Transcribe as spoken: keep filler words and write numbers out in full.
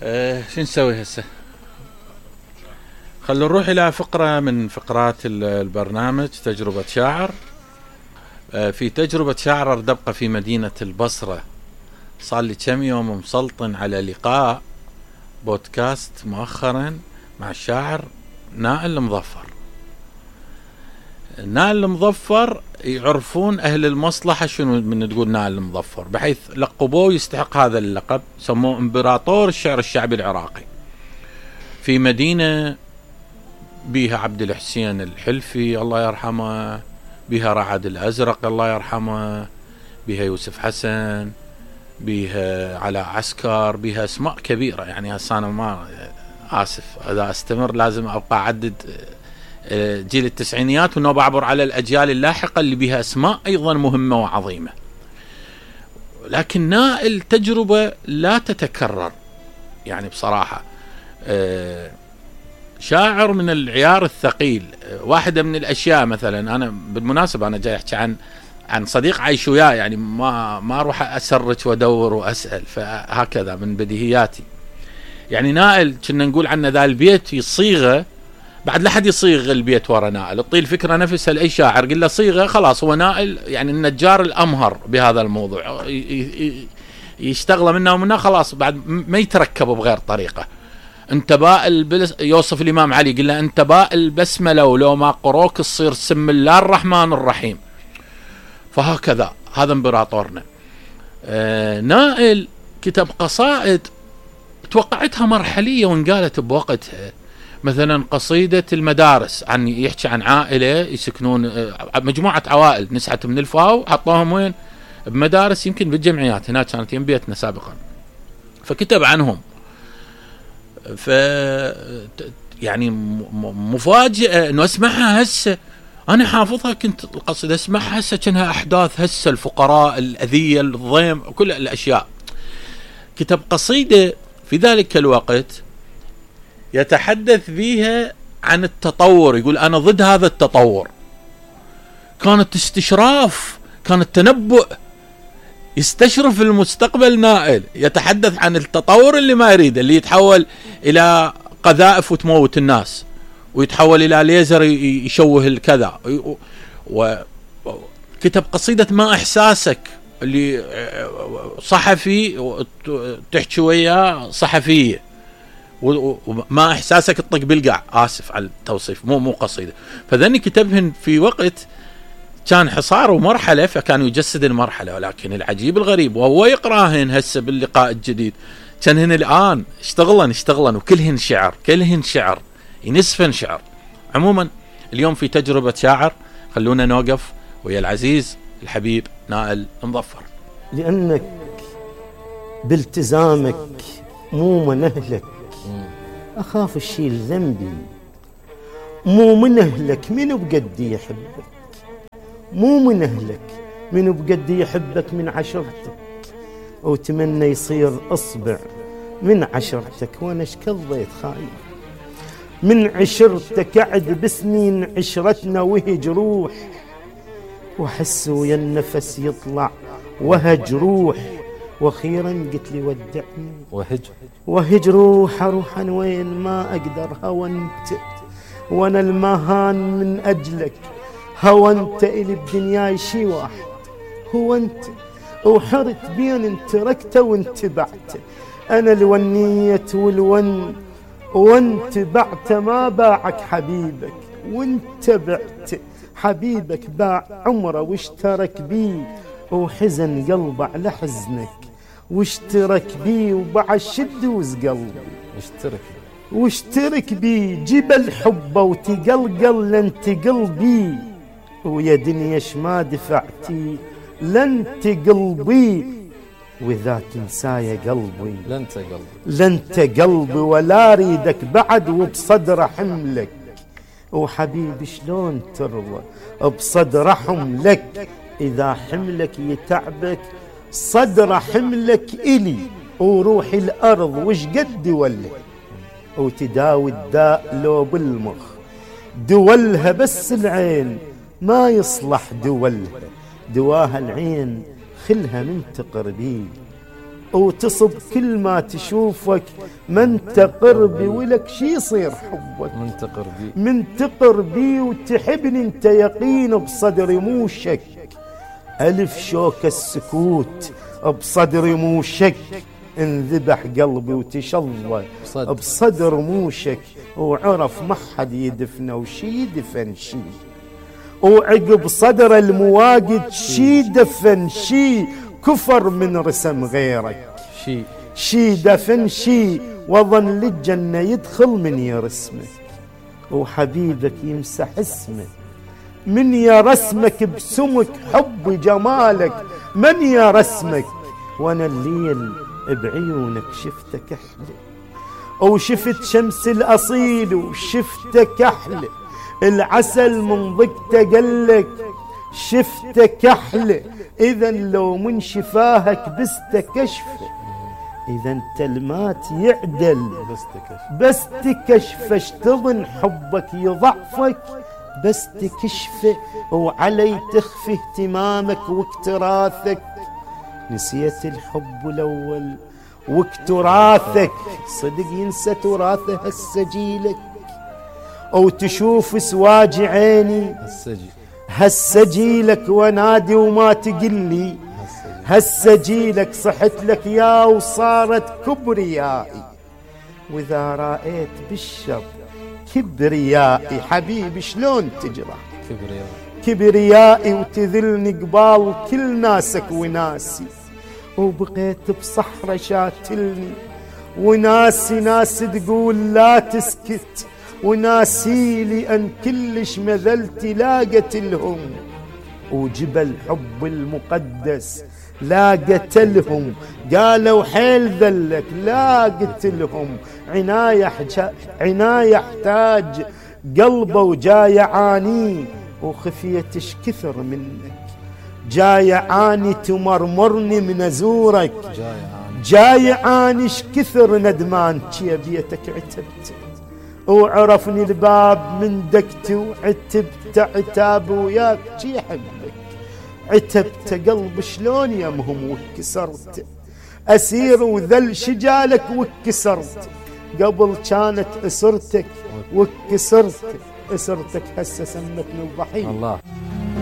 أه شو نسوي هسه؟ خلونا نروح إلى فقرة من فقرات البرنامج، تجربة شاعر. أه في تجربة شاعر أردبقى في مدينة البصرة. صار لي كم يوم مسلطن على لقاء بودكاست مؤخرا مع الشاعر نائل المظفر. نائل المظفر يعرفون أهل المصلحة شنو من تقول نائل المظفر، بحيث لقبوه يستحق هذا اللقب، سموه إمبراطور الشعر الشعبي العراقي. في مدينة بيها عبد الحسين الحلفي الله يرحمه، بيها رعد الأزرق الله يرحمه، بيها يوسف حسن، بيها علاء عسكر، بيها اسماء كبيرة. يعني هسه أنا ما آسف إذا أستمر لازم أبقى أعدد جيل التسعينيات ونوب أعبر على الأجيال اللاحقة اللي بها أسماء أيضا مهمة وعظيمة. لكن نائل تجربة لا تتكرر، يعني بصراحة شاعر من العيار الثقيل. واحدة من الأشياء مثلا، أنا بالمناسبة أنا جاي أحكي عن عن صديق عايش وياه، يعني ما ما أروح أسرج وأدور وأسأل، فهكذا من بديهياتي. يعني نائل كنا نقول عنه ذا البيت يصيغه، بعد لا حد يصيغ البيت ورا نائل، تطيل الفكرة نفسها لأي شاعر قل له صيغه خلاص هو نائل، يعني النجار الأمهر بهذا الموضوع، يشتغل منه ومنه خلاص، بعد ما يتركب بغير طريقة. انتباء البلس يوصف الإمام علي قل له انتباء البسملة ولو ما قروك تصير سم الله الرحمن الرحيم. فهكذا هذا امبراطورنا. آه نائل كتب قصائد توقعتها مرحلية وانقالت بوقتها، مثلا قصيدة المدارس، عن يحكي عن عائلة يسكنون مجموعة عوائل نسعت من الفاو، حطوهم وين؟ بمدارس، يمكن بالجمعيات هناك كانت يم بيتنا سابقا، فكتب عنهم. ف يعني مفاجئة انه اسمعها هسه، انا حافظها كنت القصيدة اسمعها هسه كأنها احداث هسه، الفقراء، الاذية، الضيم، كل الاشياء. كتب قصيدة في ذلك الوقت يتحدث فيها عن التطور، يقول أنا ضد هذا التطور. كانت استشراف، كانت تنبؤ، يستشرف المستقبل. نائل يتحدث عن التطور اللي ما يريده، اللي يتحول إلى قذائف وتموت الناس، ويتحول إلى ليزر يشوه الكذا. وكتب قصيدة ما إحساسك، اللي صحفي تحكي وياه صحفية، وما إحساسك تطق بالقع، آسف على التوصيف، مو مو قصيدة. فذني كتبهن في وقت كان حصار ومرحلة، فكان يجسد المرحلة. ولكن العجيب الغريب وهو يقراهن هسه باللقاء الجديد، كانهن الآن اشتغلن اشتغلن وكلهن شعر، كلهن شعر، ينسفن شعر. عموما اليوم في تجربة شاعر، خلونا نوقف ويا العزيز الحبيب نائل المظفر. لأنك بالتزامك مو من أهلك، أخاف الشيل ذنبي. مو من أهلك منو بقدي يحبك، مو من أهلك منو بقدي يحبك من عشرتك، وتمنى يصير أصبع من عشرتك. وأنا شكضيت خايف من عشرتك، أعد بسنين عشرتنا وهج روح، وحس ويا النفس يطلع وهج روح. واخيرا قلت لي ودعني وهج وهج روح، اروح انا وين ما اقدر. هونت وانا المهان من اجلك، هونت الي بدنياي شي واحد، هو انت. وحرت بين انت تركته وانت بعته، انا الونيت والون وانت بعت. ما باعك حبيبك وانت بعت، حبيبك باع عمره واشترك بيه، وحزن قلبه على حزنك واشترك بيه، وباع الشدوز قلبي اشترك واشترك بيه. جبل حبه وتقلقل لن تقلبي، ويا دنيا شما دفعتي لن تقلبي. وإذا تنسايا قلبي لن تقلبي لن تقلبي، ولا ريدك بعد وبصدر حملك. وحبيبي شلون ترضى بصدر حملك، إذا حملك يتعبك صدر حملك إلي. وروحي الأرض وش قد وله، وتداوي الداء لو بالمخ. دولها بس العين ما يصلح دولها، دواها العين خلها من تقربي. وتصب كل ما تشوفك، من تقر بي ولك شي يصير حبك، من تقر بي من تقر بي وتحبني انت يقين بصدري مو شك، ألف شوك السكوت بصدري مو شك، انذبح قلبي وتشظى بصدر مو شك، وعرف ما حد يدفنه وشي يدفن شي، وعقب صدر المواقد شي دفن شي، كفر من رسم غيرك شي شي دفن شي، وظن للجنة يدخل من يرسمه، وحبيبك يمسح اسمه، من يرسمك بسمك حب جمالك، من يرسمك، وانا الليل بعيونك شفتك احلى، وشفت شمس الاصيل وشفتك احلى، العسل من ضقته قلك شفتك احلى، اذا لو من شفاهك بس تكشفه، اذا انت المات يعدل بس تكشف بس تكشف، اشتضن حبك يضعفك بس تكشفه، وعلي تخفي اهتمامك واكتراثك، نسيت الحب الاول واكتراثك، صدق ينسى تراثه هسه جيلك، او تشوف سواج عيني السجي هسه جيلك، ونادي وما تقلي هسه جيلك، صحت لك يا وصارت كبريائي، واذا رأيت بالشر كبريائي، حبيبي شلون تجرح كبرياء كبريائي، وتذلني قبال كل ناسك وناسي، وبقيت بصحرة شاتلني، وناسي ناس تقول لا تسكت، وناسي لي أن كلش مذلتي لاقت لهم، وجبل حب المقدس لا قتلهم، قالوا حيل ذلك لا قتلهم، عناية عناية احتاج قلبه وجاي يعاني، وخفيتش كثر منك جاي عاني، تمرمرني من ازورك جاي عانيش كثر ندمان، شي بيتك عتبت وعرفني الباب من دقتي، وعتبت عتاب وياك شي حبك، عتبت قلب شلون يمهم وكسرت، اسير وذل شجالك وكسرت، قبل كانت اسرتك وكسرت، اسرتك هسه سمتني الضحيه. الله